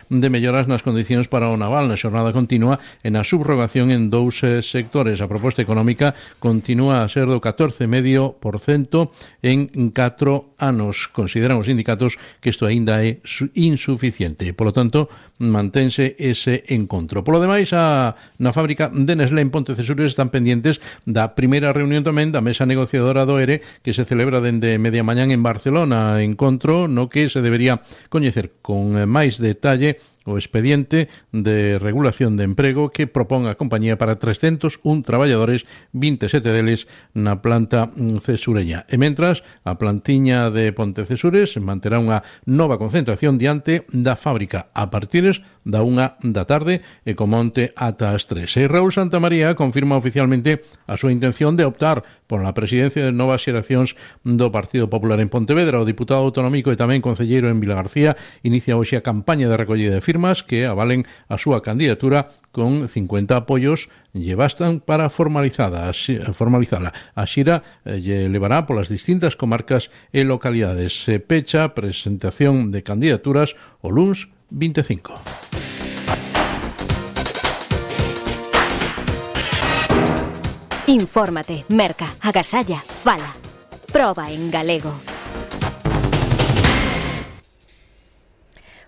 de melloras nas condicións para o naval na xornada continua e na subrogación en 2 sectores. A proposta económica continúa a ser do 14,5% en 4 anos. Consideran os sindicatos que isto aínda é insuficiente. Polo tanto, mantense ese encontro. Polo demais, na fábrica de Nestlé en Pontecesures están pendientes da primeira reunión tamén da mesa negociadora do ERE que se celebra dende media mañán en Barcelona, encontro no que se debería coñecer con máis detalle o expediente de regulación de emprego que propón a compañía para 301 traballadores, 27 deles na planta cesureña. E mentras, a plantiña de Pontecesures manterá unha nova concentración diante da fábrica a partires da 1 da tarde e co monte ata as 3. E Raúl Santamaría confirma oficialmente a súa intención de optar por a presidencia de novas xeracións do Partido Popular en Pontevedra. O diputado autonómico e tamén concelleiro en Vilagarcía inicia hoxe a campaña de recollida de firmas que avalen a súa candidatura con 50 apoios lle bastan para formalizala. A xira lle levará polas distintas comarcas e localidades. Se pecha presentación de candidaturas o luns 25. Infórmate, merca, agasalla, fala. Proba en galego.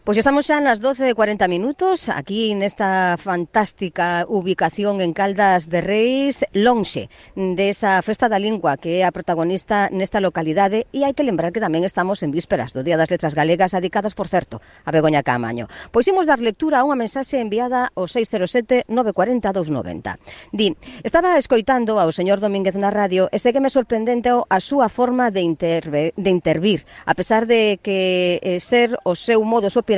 Pois estamos xa nas 12:40 aquí nesta fantástica ubicación en Caldas de Reis, lonxe desa Festa da Lingua que é a protagonista nesta localidade, e hai que lembrar que tamén estamos en vísperas do Día das Letras Galegas, dedicadas, por certo, a Begoña Caamaño. Pois imos dar lectura a unha mensaxe enviada ao 607 940 290. Di: estaba escoitando ao señor Domínguez na radio e ségueme sorprendente a súa forma de intervir, a pesar de que ser o seu modus operandi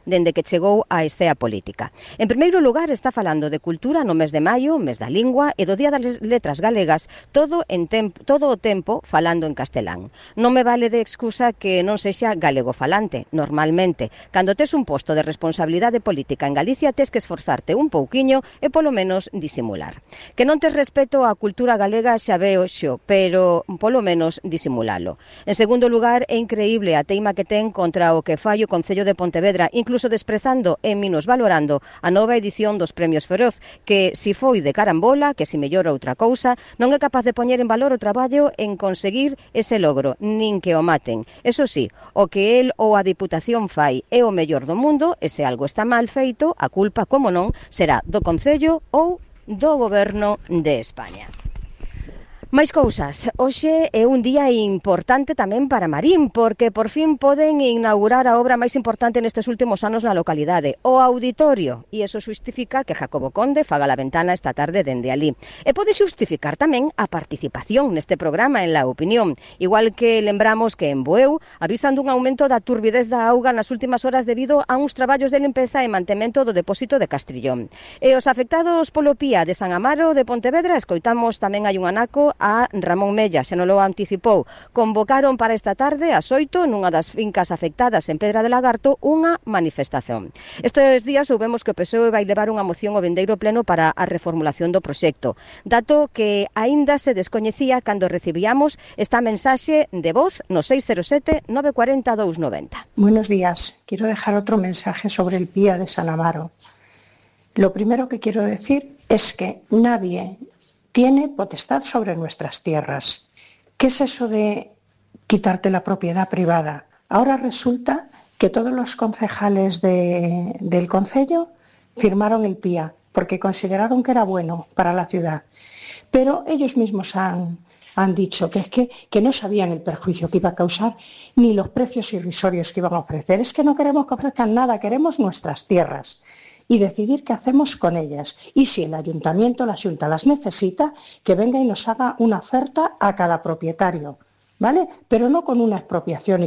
dende que chegou á escena política. En primeiro lugar, está falando de cultura no mes de maio, mes da lingua, e do Día das Letras Galegas, todo o tempo falando en castelán. Non me vale de excusa que non sexa galego falante. Normalmente, cando tes un posto de responsabilidade política en Galicia, tes que esforzarte un pouquiño e polo menos disimular. Que non tes respeto á cultura galega xa veo xo, pero polo menos disimulalo. En segundo lugar, é increíble a teima que ten contra o que fai o Concello de Pontevedra, incluso desprezando e minusvalorando a nova edición dos Premios Feroz, que si foi de carambola, que si mellora outra cousa, non é capaz de poñer en valor o traballo en conseguir ese logro, nin que o maten. Eso sí, o que el ou a Diputación fai é o mellor do mundo, e se algo está mal feito, a culpa, como non, será do Concello ou do Goberno de España. Máis cousas. Hoxe é un día importante tamén para Marín, porque por fin poden inaugurar a obra máis importante nestes últimos anos na localidade, o auditorio, e iso xustifica que Jacobo Conde faga la ventana esta tarde dende ali. E pode xustificar tamén a participación neste programa en La Opinión, igual que lembramos que en Bueu avisan dun aumento da turbidez da auga nas últimas horas debido a uns traballos de limpeza e mantemento do depósito de Castrillón. E os afectados polo Pía de San Amaro de Pontevedra, escoitamos tamén hai un anaco a Ramón Mella, xa non lo anticipou. Convocaron para esta tarde ás 8 nunha das fincas afectadas en Pedra de Lagarto unha manifestación. Estes días soubemos que o PSOE vai levar unha moción ao vindeiro pleno para a reformulación do proxecto, dato que aínda se descoñecía cando recibíamos esta mensaxe de voz no 607 940 290. Buenos días. Quiero dejar otro mensaje sobre el Pía de San Amaro. Lo primero que quiero decir es que nadie tiene potestad sobre nuestras tierras. ¿Qué es eso de quitarte la propiedad privada? Ahora resulta que todos los concejales del concello firmaron el PIA porque consideraron que era bueno para la ciudad. Pero ellos mismos han dicho que no sabían el perjuicio que iba a causar ni los precios irrisorios que iban a ofrecer. Es que no queremos que ofrezcan nada, queremos nuestras tierras y decidir qué hacemos con ellas. Y si el ayuntamiento, la Xunta las necesita, que venga y nos haga una oferta a cada propietario, ¿vale? Pero no con una expropiación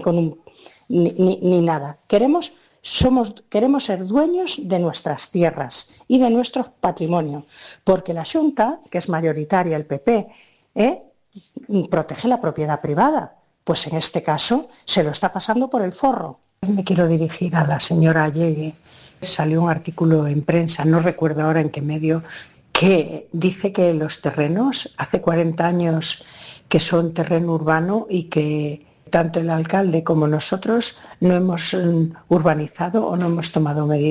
ni nada. Queremos ser dueños de nuestras tierras y de nuestro patrimonio, porque la Xunta, que es mayoritaria el PP, protege la propiedad privada. Pues en este caso se lo está pasando por el forro. Me quiero dirigir a la señora Allegue. Salió un artículo en prensa, no recuerdo ahora en qué medio, que dice que los terrenos, hace 40 años que son terreno urbano y que tanto el alcalde como nosotros no hemos urbanizado o no hemos tomado medidas.